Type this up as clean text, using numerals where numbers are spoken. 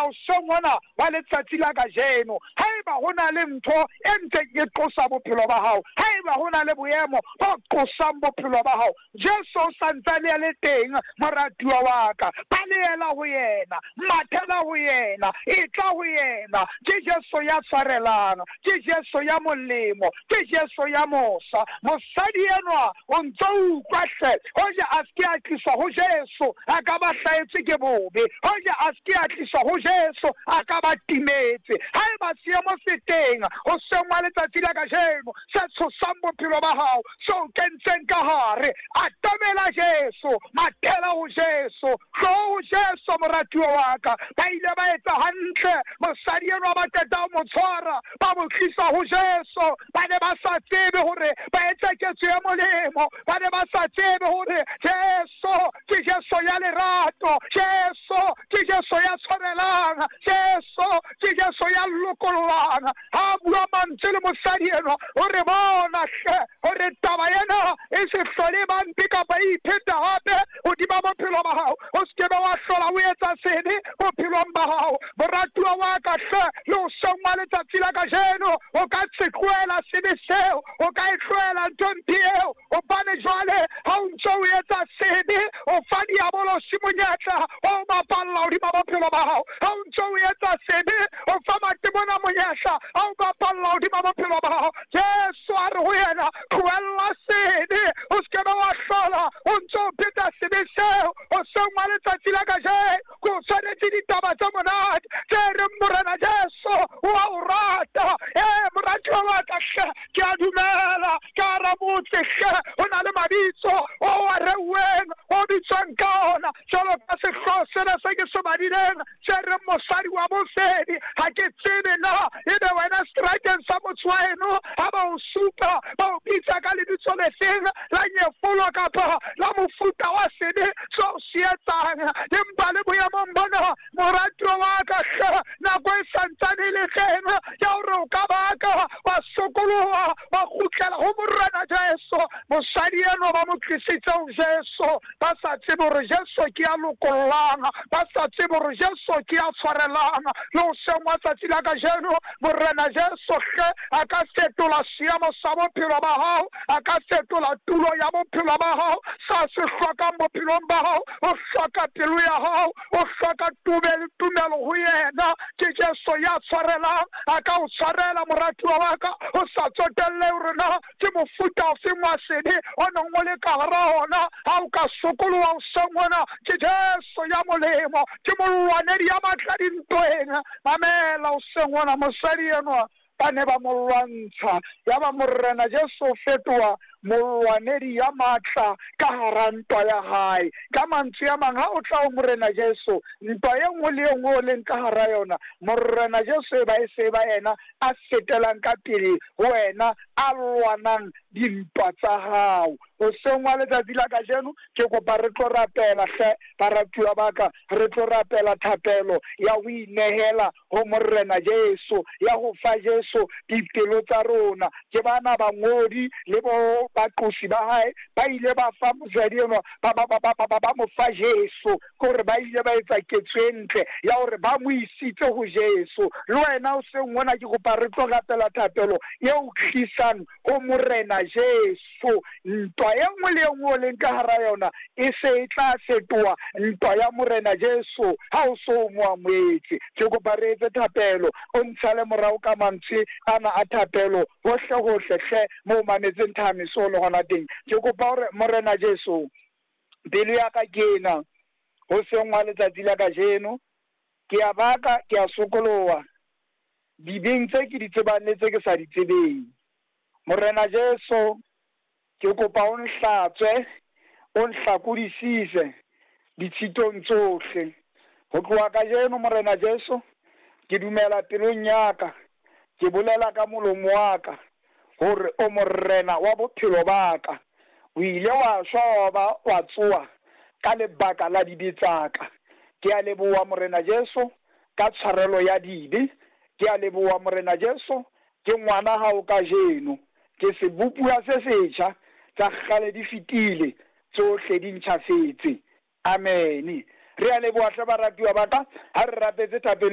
Hoseng hona wa letsatsi la kajeno, haeba ho na le ntho e ntseng e qosa bophelo ba hao, haeba ho na le boemo bo qosang bophelo ba hao, Jesu o sa ntsane a le teng, moratuwa wa ka. Balehela ho yena, mathela ho yena, etla ho yena. Ke Jesu ya tshwarelang, ke Jesu ya molemo, ke Jesu ya mosa. Mosadi enwa o ntso utlwa hle, hoja a se ke a tliswa ho Jesu, a ka ba hlahetswe ke bobe. Hoja a se ke a tliswa ho Jesu, a ka ba timetse. Haeba seemo se teng hoseng wa letsatsi la kajeno se tshosang bophelo ba hao, se o kentseng ka hare, atamela Jesu, mathela ho Jesu, tloo ho Jesu, moratuwa wa ka. Ba ile ba etsa hantle, mosadi enwa ba qeta ho mo tshwara, ba mo tlisa ho Jesu. Ba ne ba sa tsebe hore ba etsa ketso e molemo, ba ne ba sa tsebe hore Jesu ke Jesu ya lerato, Jesu ke Jesu ya tshwarelang, Jesu ke Jesu ya lokollang. Ha a bua mantswe le mosadi enwa, o re bona hle hore taba ena e se hlole e ba mpe kapa e ipheta hape hodima bophelo ba hao. O se ke be wa hlola o etsa sebe bophelong ba hao. Moratuwa wa ka hle, le hoseng wa letsatsi la kajeno o ka se tlohela sebe seo, o ka e tlohela ntho mpe eo, hobane jwale ha o ntso o etsa sebe o fa diabolosi monyetla wa ho bapalla hodima bophelo ba hao. Ha o ntso o etsa sebe o fa matemona monyetla a ho bapalla hodima bophelo ba hao. Jesu a re ho yena, tlohella sebe, o se ke be wa hlola o ntso o pheta sebe seo. Hoseng wa letsatsi la kajeno ke o tshwanetse ditaba tse monate tse reng Morena Jesu o a o rata. Ee, moratuwa wa ka hle, ke a dumela ka hara motse hle ho na le mabitso o a reuweng, o bitswang ka ona, jwalo ka sehlooho sena se ke se badileng se reng mosadi wa bofebi. Ha ke tsebe na ebe wena seterateng sa motse wa heno ha ba o supa ba o bitsa ka lebitso lefeng la nyefolo kapa la mofuta wa sebe seo se etsang, empa le boemong bona, moratuwa wa ka hle, nako e sa ntsane e le teng ya hore o ka baka wa sokoloha wa kgutlela ho Morena Jesu. Mosadi enwa ba mo tlisitse ho Jesu ba sa tsebe hore Jesu ke ya lokollang, ba sa tsebe hore Jesu ke ya tshwarelang. Le hoseng wa tsatsi la kajeno, Morena Jesu hle a ka fetola seemo sa bophelo ba hao, a ka fetola tulo ya bophelo ba hao. Sa se hlokang bophelong ba hao, o hloka pelo ya hao, o hloka tumelo ho yena. Ke Jesu ya tshwarelang, a ka o tshwarela moratuwa wa ka, o sa tsotelle hore na ke mofuta ofeng wa sebe o neng o le ka hara ona. Ha o ka sokoloha hoseng hona, ke Jesu ya molemo, ke molwanedi ya matla dintweng. Mamela hoseng hona, mosadi enwa ba ne ba mo lwantsha, yaba Morena Jesu o fetoha molwanedi ya matla ka hara ntwa ya hae. Ka mantswe a mang, ha o tla ho Morena Jesu, ntwa e nngwe le e nngwe o leng ka hara yona, Morena Jesu e ba e se e ba yena a fetelang ka pele ho wena, a lwanang dintwa tsa hao. Hoseng wa letsatsi la kajeno, ke kopa re tlo rapela hle, baratuwa ba ka, re tlo rapela thapelo ya ho inehela ho Morena Jesu, ya ho fa Jesu dipelo tsa rona. Ke bana bangodi le bo baqosi ba hae ba ile ba fa mosadi enwa, ba, ba, ba, ba, ba, ba, ba mo fa Jesu, ke hore ba ile ba etsa ketso e ntle ya hore ba mo isitse ho Jesu. Le wena hoseng hona ke kopa re tlo rapela thapelo e o tlisang ho Morena Jesu. Ntwa e nngwe le e nngwe o leng ka hara yona e se e tla fetoha ntwa ya Morena Jesu ha o so o mo amohetse. Ke kopa re etse thapelo, o ntshale morao ka mantswe ana a thapelo hohle hohle hle mo o mametseng thahamiso o le hona teng. Ke kopa hore Morena Jesu, pelo ya ka ke ena, hoseng wa letsatsi la kajeno, ke a baka, ke a sokoloha dibeng tse ke di tsebang le tse ke sa di tsebeng. Morena Jesu, ke kopa o nhlatswe, o nhlakodisise ditshitong tsohle. Ho tloha kajeno, Morena Jesu, ke dumela pelong ya ka, ke bolela ka molomo wa ka hore o Morena wa bophelo ba ka. O ile wa shwa wa ba wa tsoha ka lebaka la dibe tsa ka. Ke a leboha, Morena Jesu, ka tshwarelo ya dibe. Ke a leboha, Morena Jesu, ke ngwana hao kajeno. Ke sebopuwa se setjha, tsa kgale di fetile, tsohle di ntjhafetse. Amene. Re a leboha hle baratuwa ba ka, ha re rapetse thapelo.